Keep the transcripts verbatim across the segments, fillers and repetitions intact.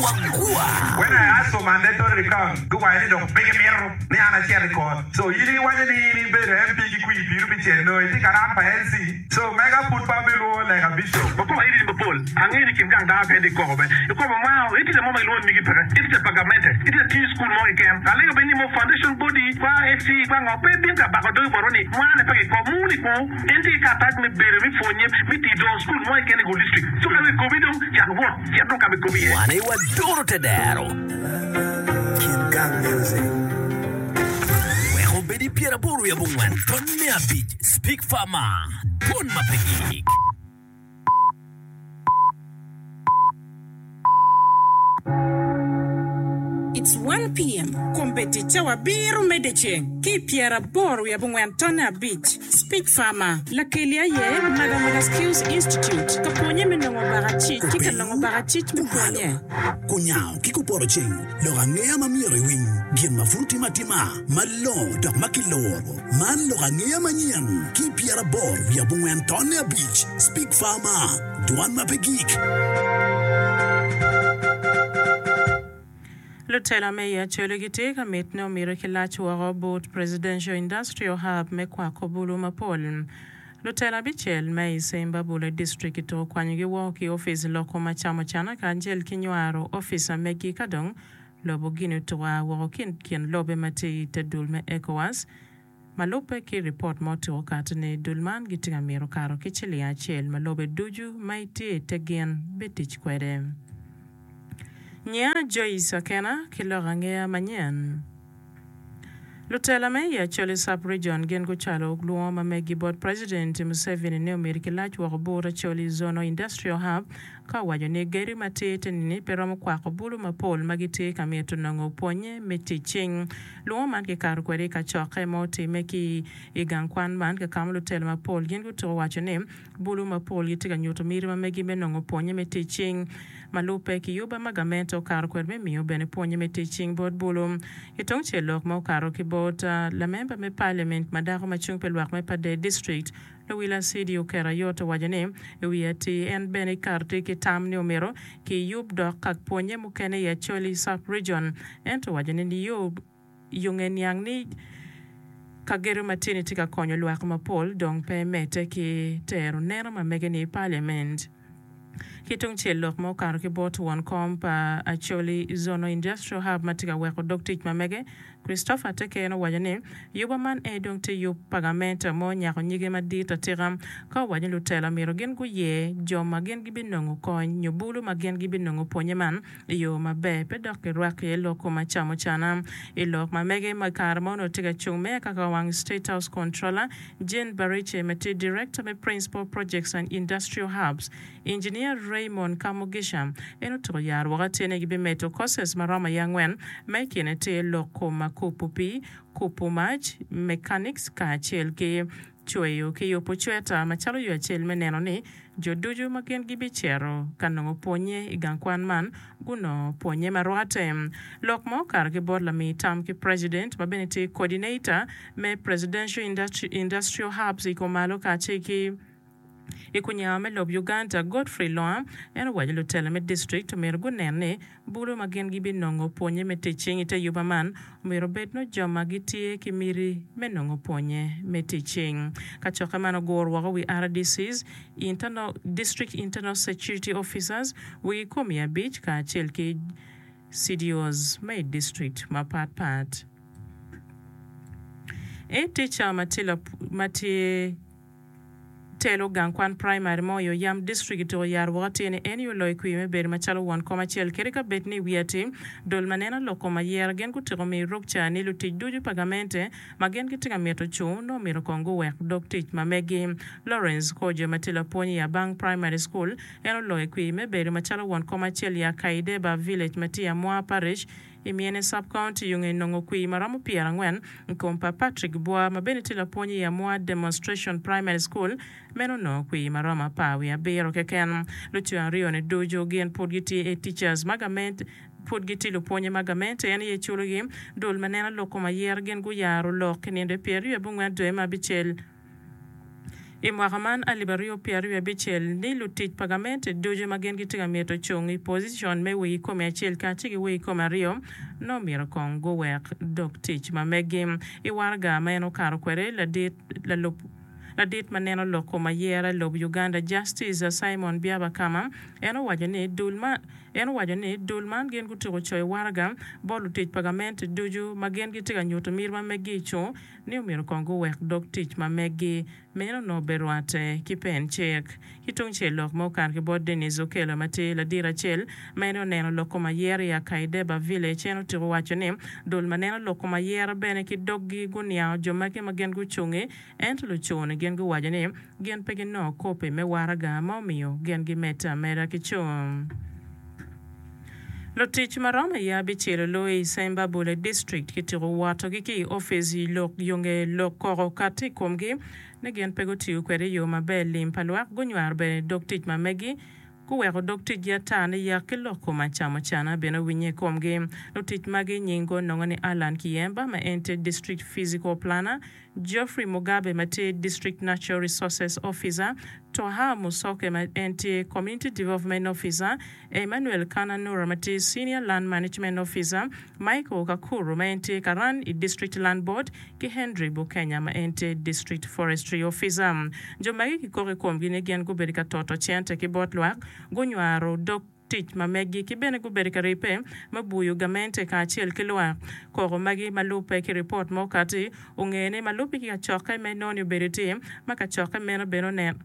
Wagwa. When I asked for mandatory recount, guwaco ni dong pe gimito ni an acit i court. So in iwaco ni in ibedo M P ki kwir piru pi cel no itye ka ran pa L C. So mega pud pa bilwongo like a bishop. Wakoko iri mapol angeyo ni kin gang dano kene ikoko be ikoko ma itye mo ma gilwongo ni migi peke itye pa gamente itye tiyo school mo keken alego be ni mo foundation body kwa S C kwa ngo pe bin ka bako dogi botwa ni mwane pe kiko muni ku en tye ki karatac me bedo me pwonye me tiyo dongo school mo keken i go district so ka ikobi dong cak wot cit dong ka ma ikobi iye. Wan aye waduro te dero. Kin Gang Music. Wek obed i pyeraboro wiye abongwen ton me abic Speak Farmer dwon ma pe gik. It's one P M Kombeddi cawa abiro me dyeceng ki i pyeraboro wiye abongwen tonne abic. Speak Farmer, Lakeli aye Magamaga Skills Institute ka pwonye me nongo bakacic ki ka nongo bakacic me pwonye. Kunyango ki kupoto ceng, lok angeya ma myero iwiny, gin ma pud timo atima, malongo dok ma kiloro. Man lok angeya manyen ki pyeraboro wiye abongwen tonne abic. Speak Farmer, dwan ma pe gik. Lutela me i Acholi gitye ka mit ni omyero ki lac woko but Presidential Industrial Hub me kwako bulu mapol. Lutela abicel me i Sembabule District kituko kwanyogi woko ki opic loko ma camo cana kacel ki nywaro opica megi ka dong lobo gini otuko a woko ki kin lobe ma tye i te dul me ECOWAS. Ma lubbe ki ripot ma otuko kato ni dul man gitye ka mito kato ki ciling acel ma lobe ducu ma itye i te gin bitic kwede. Nya Joyce Akena ki lok angeya manyen. Lutela me i Acholi Sub-Region gin gucwalo lwongo ma megi bot President Museveni ni omyero ki lac woko but Acholi Zonal Industrial Hub ka owaco ni gedo ma tye te-ni pe romo kwako bulu mapol ma gitye ka mito nongo pwonye me tic cing. Lwongo man kikato kwede i kacokke ma otimme ki i gang kwan man ka kama lutela mapol gin gutuko waco ni bulu mapol gitye ka nyuto miti ma megi me nongo pwonye me tic cing ma lubbe ki yuba ma gamente okato kwede me miyo bene pwonye me tic cing bot bulu. I tung cel lok ma okato ki bot lamemba me parliament ma dako ma cung pi lwak me Pader District Luwila Sidi oketo ayot owaco ni i wiye atir en bene ikato tye ki tam ni omyero ki yub dok ka pwonye mukene i Acholi Sub-Region ento owaco ni niyo yonge niang ni ka gedo ma tye ni tye ka konyo lwak mapol dong pe medde ki tero neno ma mege ni i parliament. Ki tung cel lok ma okato ki bot won kom pa Acholi Zonal Industrial Hub ma tye ka weko dog tic ma mege Christopher Teken owaco ni yuba man en dong tye yub pa gamente mo nyako nyige madit atika ka owaco ni lutela myero gin guye jo ma gin gibinongo kony nyo bulu ma gin gibinongo pwonye man i yo maber pe dok girwak iye lok kom acamo cana. I lok ma mege ma kare ma onongo tye ka cung meya kaka wang State House Controller Jane Bariche ma tye Director me Principal Projects and Industrial Hubs Engineer Raymond Kamugisha en otuko yaro woko atir ni gibimedo courses ma romo aye angwen ma i kine tye lok kom ma kubo pii, kubo mac, mechanics kacel ki cweyo ki yubo cweta macalo yo acel me neno ni jo ducu ma gin gibicito ka nongo pwonye i gang kwan man gunongo pwonye ma rwatte. Lok ma okato ki bot lami tam ki President ma bene tye coordinator me Presidential Industrial Hubs i kumalo kacel ki i kunyango me lob Uganda Godfrey Loa en owaco lutela me district omyero gunen ni bulu ma gin gibinongo pwonye me tic cing i te yuba man omyero obed no jo ma gitye ki miti me nongo pwonye me tic cing. Kacokke man oguro woko wi R D Cs, Internal, District Internal Security Officers, wigi komi abic kacel ki C D Os me i district mapat pat. E tica ma tye telo gang kwan primary mo i Oyam District ituko yaro woko atir ni en yo loyo kwir me bedo macalo won kom acel kadi ka bed ni wiye atir dol ma neno lok kom ayera gin gutiko miyo rukca ni lutic ducu pa gamente ma gin gitye ka mito cung nongo myero kong guwek dog tic ma megi. Lawrence Kojo ma tye lapwony i Abang Primary School en oloyo kwir me bedo macalo won kom acel i Akaideba Village ma tye i Amwa Parish i Miene Sub-County yo nge nongo kwir ma romo pyerangwen i kom pa Patrick Bwa ma bene tye lapwony i Amwa Demonstration Primary School meno onongo kwir ma romo apar wiye abiro keken. Lucwe aryo-ni ducu gin pud gitye e teachers ma gamente pud gitye lupwonye ma gamente en aye culogi. Dul ma neno lok kom ayera gin guyaro lok i nindo pyeraryo abongwen dwe me abicel I mwaka man alip aryo pyera aryo abicel ni lutic pa gamente ducu ma gin gitye ka mito cung i pocicon me wi kome acel kacel ki wi kome aryo nongo myero kong guwek dog tic ma megi. I waraga ma en okato kwede ladit lalub Ladit ma neno lok kom ayera i lobo Uganda Justice Simon Byabakama en owaco ni dul ma en owaco ni dul man gin gutyeko coyo waraga bot lutic pa gamente ducu ma gin gitye ka nyuto miti ma meggi i cung ni omyero kong guwek dog tic ma meggi meno onongo be rwatte ki pen cik. Ki tungcel lok ma okato ki bot Denis Okello ma tye ladit acel ma en oneno lok kom ayera i Akaideba Village en otyeko waco ni dul ma neno lok kom ayera bene ki doggi guniango jo magi ma gin gucungi Ento lucone gin guwaco ni gin pe ginongo kopi me waraga ma omiyo gin gimedde ameda ki cung. Lutic ma romo i abicel olu i Sembabule District kityeko wotogi ki i opic i lok yo nge lok koko kati i komgi ni gin pe gutiyo kwede i yo maber lim pa lwak gunywaro bene dog tic ma megi guweko dog ticgi ata ni yak ki lok kom acamocana bene owinye i komgi. Lutic magi nying gonongo ni Allan Kiyemba ma en tye District Physical Planner, Geoffrey Mugabe ma tye District Natural Resources Officer, Toha Musoke ma en tye Community Development Officer, Emmanuel Kananura ma tye Senior Land Management Officer, Michael Kakuru ma en tye Karan i District Land Board ki Henry Bukenya ma en tye District Forestry Officer. Jo magi kikoko i komgi ni gin gubedo ka toto cente ki bot lwak, gunywaro dog tic ma meggi ki bene gubedo ka ribbe me buyo gamente kacel ki lwak. Koko magi ma lubbe ki ripot ma okati ongene ma lubbe ki kacokke me noni obedo tye ma kacokke meno bene oneno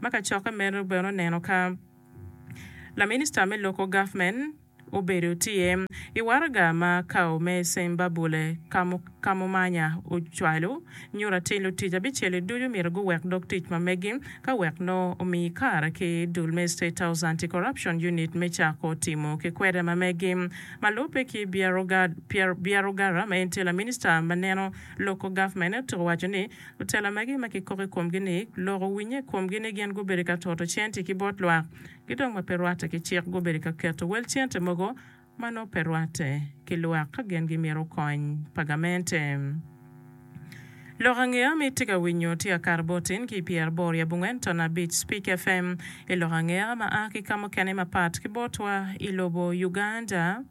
ma kacokke meno bene oneno ka laminista me Local Government obedo tye i waraga ma kao me Sembabule Kamumanya ocwalo nyuto atir lutic abicel-li ducu myero guwek dog tic ma megi ka wek nongo omi kare ki dul me State House Anti-Corruption Unit me cako timo ki kwede ma megi. Ma lubbe ki Byarugara ma en tye laminista ma neno Local Government otuko waco ni lutela magi ma kikoko i komgi ni lok owinye i komgi ni gin gubedo ka toto cente ki bot lwak ki dong ma pe rwatte ki cik gubedo ka keto wel cente mogo ma nongo pe rwatte ki lwak ka gin gimito kony pa gamente. Lok angeya ma itye ka winyo tye akato bot in ki i pyeraboro i abongwen ton abic Speak F M i lok angeya ma a ki ka mukene mapat ki botwa i lobo Uganda.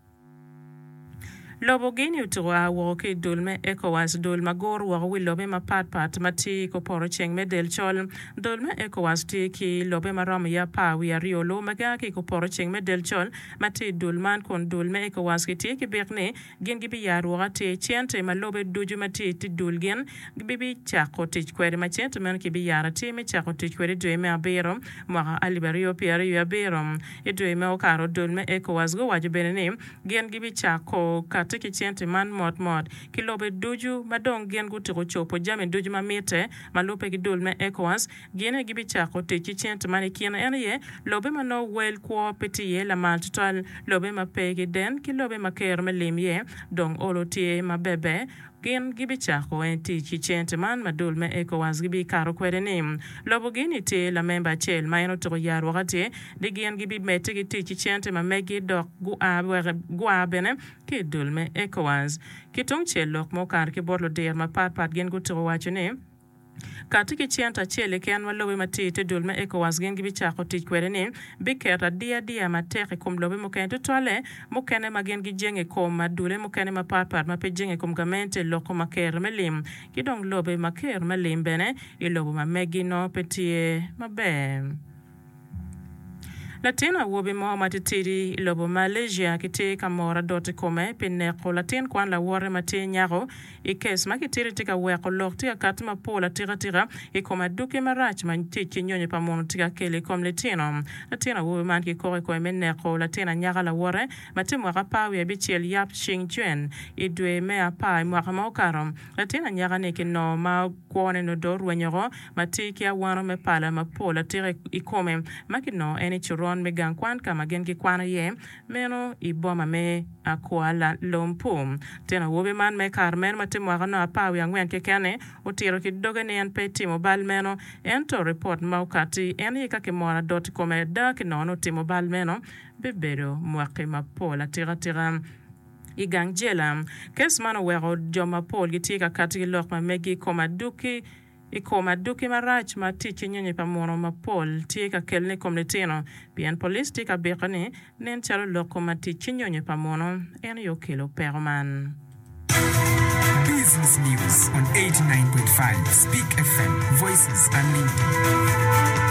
Lobo Guinea otuko a woko ki i dul me ECOWAS, dul ma guro woko wi lobe mapat pat ma tye i kupoto ceng me del col. Dul me ECOWAS tye ki lobe ma romo i apar wiye aryo lu ma gia ki i kupoto ceng me del col ma tye i dul man kun dul me ECOWAS gitye ki byek ni gin gibiyaro woko atir cente ma lobe ducu ma tye i te dul gin gibicako tic kwede ma cente meno kibiyaro atir me cako tic kwede i dwe me abiro mwaka alip aryo pyera aryo abiro. I dwe ma okato dul me ECOWAS guwaco bene ni gin gibicako kati ki cente man motmot ki lobe ducu ma dong gin gutyeko cobo jami ducu ma mitte ma lubbe ki dul me ECOWAS. Gin aye gibicako tic ki cente man i kine en aye lobe ma nongo wel kwo pe tye iye lamal tutwal, lobe ma pe ki den ki lobe ma kero me lim iye dong olo tye maberber. Gin gibicako en tic ki cente man ma dul me ECOWAS gibikato kwede-ni. Lobogi-ni tye lamemba acel ma en otuko yarwok atir ni gin gibimedde ki tic ki cente ma megi dok gua bene ki i dul me ECOWAS. Ki tungcel lok ma okato ki bot ludiro mapat pat gin gutuko waco ni, Kati ki cente acel keken ma lobe ma tye i te dul me ECOWAS gin gibicako tic kwede-ni biketo adiadiya matek i kom lobe mukene tutwalle mukene ma gin gijenge i kom adule mukene mapatpat ma pe jenge i kom gamente loko ma ker me lim ki dong lobe ma ker me lim bene i lobo ma megi nongo pe tye maber. Latin awobi mo matitidi i lobo Malaysia kitye ka moro adot i kome pi neko latin kwan lawote ma tye nyako i kes ma kitito tye ka weko lok tye ka kati mapol atikatika i kom aduki marac ma tic ki nyonyo pa muno tye ka kelo i kom litino. Latin awobi man kikoko i kome me neko latin anyaka lawote ma tye mwaka apar wiye abicel Yap Ching Chuen i dwe me apar i mwaka ma okato. Latin anyaka-ni kinongo ma kwone nongo dong orwenyo oko ma tye ki awano me pala mapol atika i kome ma kinongo en i coron me gang kwan ka ma gin gikwano iye meno i boma me Kuala Lumpur. Latin awobi man me kare meno ma tye mwaka nongo apar wiye angwen keken-ni otito ki doge ni en pe etimo bal meno ento ripot ma okatti en aye ka kimoro adot i kome ada kinongo ni otimo bal meno bibedo mwaki mapol atika tika. I gang jela. Kes man oweko jo mapol gitye ka kati ki lok ma megi i kom aduki I kom aduki marac ma tic ki nyonyo pa muno mapol tye ka kelone i kom litino pien police tye ka biko ni nen calo lok kom tic ki nyonyo pa muno en aye okelo peko man. Business News on eighty-nine point five Speak F M, Voices Unlimited.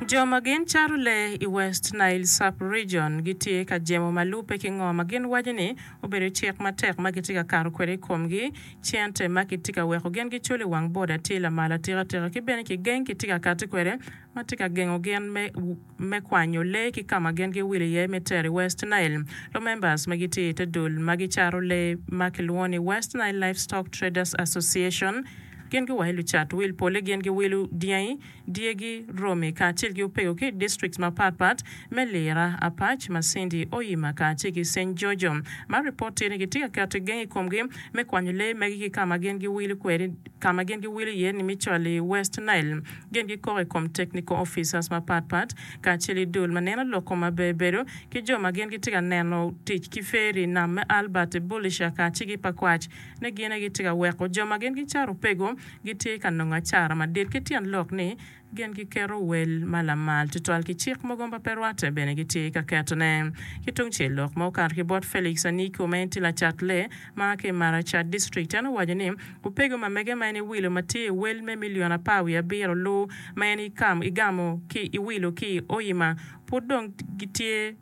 Jo ma gin cato lee i West Nile Sub-Region gitye ka jemo ma lubbe ki ngo ma gin waco ni obedo cik matek ma gitye ka kato kwede i komgi. Cente ma kitye ka weko gin giculo i wang boda tye lamal atikatika ki bene kigeng kitye ka kati kwede ma tye ka gengo gin me, me kwanyo lee ki ka ma gin giwilo iye me tero i West Nile. Lumembers ma gitye i te dul ma gicato lee ma kilwongo ni West Nile Livestock Traders Association gin giwaco lucat wil pole gin giwilo dyangi, dyegi, romi kacel ki opego ki i districts mapatpat me Lira, Apac, Masindi, Oyima kacel ki Saint Giorgio. Ma ripot tye ni gitye ka keto geng i komgi me kwanyo lee magi ki ka ma gin giwilo kwede ka ma gin giwilo iye ni me cwalo i West Nile. Gin gikoko i kom technical officers mapatpat kacel i dul ma neno lok kom maber bedo ki jo ma gin gitye ka neno tic ki feri nam me Albert i Bulisha kacel ki Pakwach ne gin aye gitye ka weko jo ma gin gicato opego gitye ka nongo acara madit ki tyen lok ni gin giketo wel ma lamal tutwal ki cik mogo ma pe rwatte bene gitye ka ketone. Ki tungcel lok ma okato ki bot Felix Aniko ma en tye lacat lee ma ki i Maracha District en owaco ni opego ma mege ma en iwilo ma tye i wel me milion apar wiye abiro lu ma en igamo ki iwilo ki i Oyima pud dong gitye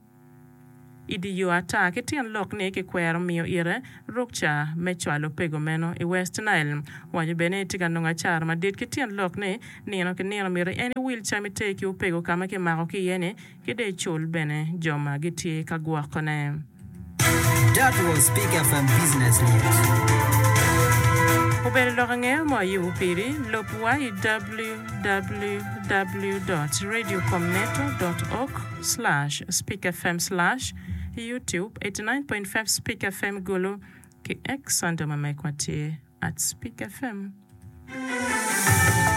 i di yo ata ki tyen lok ni kikwero miyo ire rukca me cwalo opego meno i West Nile. Owaco bene ni tye ka nongo acara madit ki tyen lok ni nino ki nino myero en iwil cam iter ki opego ka ma kimako ki iye ni ki dong icul bene jo ma gitye ka gwokone. That was Speak F M Business News. Obedo lok angeyo mo ayubo piri, lub wa i w w w dot radio comneto dot org slash speak f m slash youtube eighty-nine point five Speak F M Gulu ki X handle ma mekwa tye at Speak F M.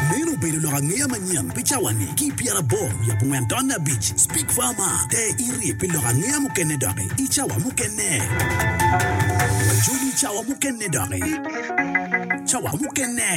Meno obedo lok angeya manyen pi cawa-ni ki pyeraboro wiye abongwen tonne abic Speak Farmer te iri pi lok angeya mukene doki i cawa mukene. Wajoli cawa mukene doki. Cawa mukene.